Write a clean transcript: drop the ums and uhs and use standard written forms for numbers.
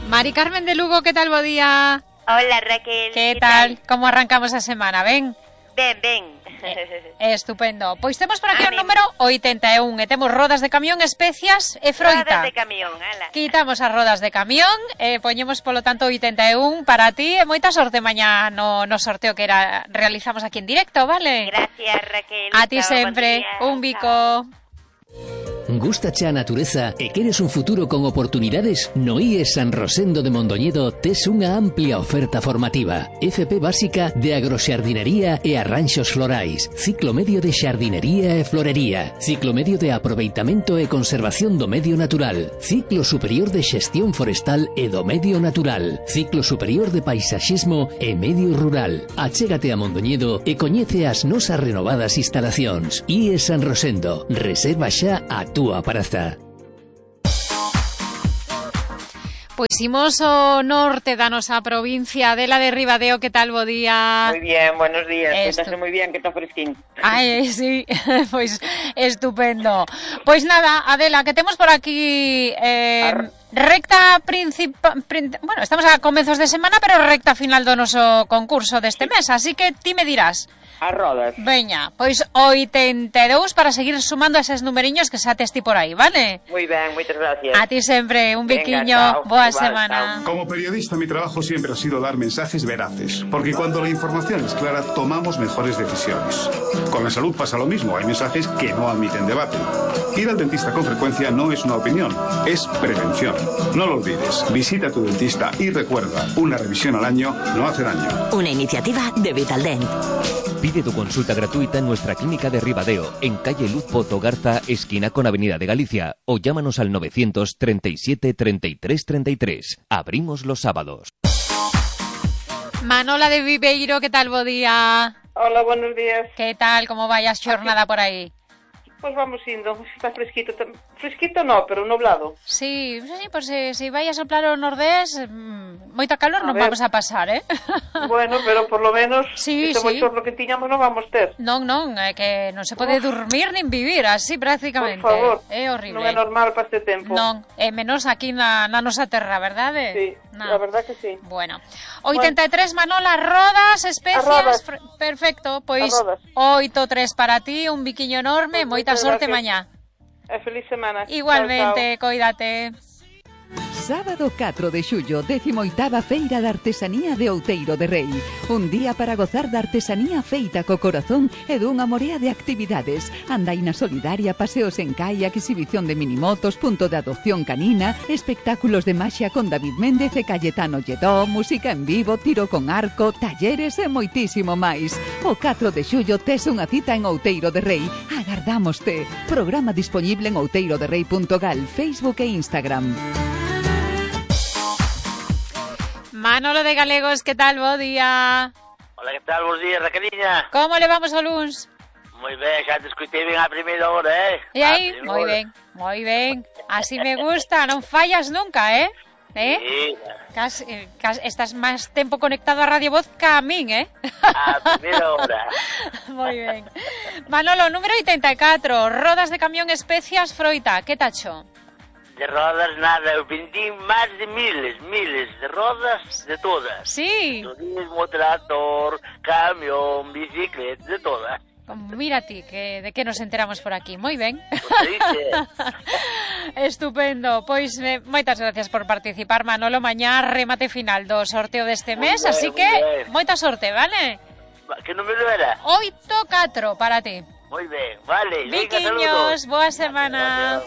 Mari Carmen de Lugo, ¿qué tal, bo día? Hola, Raquel. ¿Qué tal? Como arrancamos a semana, ben? Ben. Estupendo. Pois temos por aquí o número 81 e temos rodas de camión, especias e froita. Rodas de camión, ala. Quitamos as rodas de camión, poñemos polo tanto 81 para ti e moita sorte mañá no sorteo que realizamos aquí en directo, vale? Gracias, Raquel. A ti Chao, sempre, un bico. Gústache a natureza e queres un futuro con oportunidades? No IES San Rosendo de Mondoñedo tes unha amplia oferta formativa. FP básica de agroxardinería e arranxos florais, ciclo medio de xardinería e florería, ciclo medio de aproveitamento e conservación do medio natural, ciclo superior de xestión forestal e do medio natural, ciclo superior de paisaxismo e medio rural. Achégate a Mondoñedo e coñece as nosas renovadas instalacións. IES San Rosendo, reserva xa a túa praza. Pois imos ao norte da nosa provincia de la de Ribadeo, que tal, bo día? Muy bien, buenos días, cuéntase moi bien, que está fresquín. Ai, sí, pois estupendo. Pois nada, Adela, que temos por aquí recta principal, bueno, estamos a comezos de semana, pero recta final do noso concurso deste mes, así que ti me dirás. As rodas. Veña, pois 82 para seguir sumando eses numeriños que xa tes ti por aí, vale? Muy ben, moitas gracias. A ti sempre, un biquiño, boa semana. Como periodista, mi trabajo siempre ha sido dar mensajes veraces, porque cuando la información es clara, tomamos mejores decisiones. Con la salud pasa lo mismo, hay mensajes que no admiten debate. Ir al dentista con frecuencia no es una opinión, es prevención. No lo olvides, visita a tu dentista y recuerda, una revisión al año no hace daño. Una iniciativa de Vitaldent. Pide tu consulta gratuita en nuestra clínica de Ribadeo, en calle Luz Pozo Garza, esquina con Avenida de Galicia, o llámanos al 937 33 33. Abrimos los sábados. Manola de Viveiro, ¿qué tal, bo día? Hola, buenos días. ¿Qué tal, como vayas xornada por aí? Pues vamos indo, está fresquito, fresquito no, pero nublado. Sí, pues si vai a soplar o nordés, moita calor non vamos a pasar, Bueno, pero por lo menos sí, este bochorno que tiñamos non vamos ter. Non, é que non se pode dormir nin vivir así prácticamente. Por favor, é horrible. Non é normal para este tempo. Non, menos aquí na nosa terra, verdade? Sí, la verdad que sí. Bueno, 83 Manola, rodas, especias, perfecto, pois 8-3 para ti, un biquiño enorme, moita sorte mañá. Feliz semana. Igualmente, chao. coídate. Sábado 4 de xullo, 18ª Feira de Artesanía de Outeiro de Rei. Un día para gozar da artesanía feita co corazón e dunha morea de actividades. Andaina solidaria, paseos en kayak, exhibición de minimotos, punto de adopción canina, espectáculos de maxia con David Méndez e Cayetano Lledó, música en vivo, tiro con arco, talleres e moitísimo máis. O 4 de xullo tes unha cita en Outeiro de Rei. Agardámoste. Programa disponible en outeiroderrei.gal, Facebook e Instagram. Manolo de Galegos, ¿qué tal? Bo día. Hola, ¿qué tal? Bos días, Raqueliña. Como le vamos ao luns? Moi ben, xa te escutei ben a primeira hora, E aí? Moi ben. Así me gusta, non fallas nunca, Sí. Casi, estás máis tempo conectado a Radio Voz que a min, A primeira hora. Moi ben. Manolo, número 84, rodas de camión, especias, froita, que tacho? De rodas nada, eu vendí máis de miles de rodas de todas. Sí. Turismo, trator, camión, bicicleta, de todas. Mira ti, que de que nos enteramos por aquí. Moi ben. Pues Estupendo. Pois moitas gracias por participar, Manolo. Mañá remate final do sorteo deste mes, así que moita sorte, vale? Que número era? 8-4 para ti. Moi ben, vale. Viquiños, boa semana.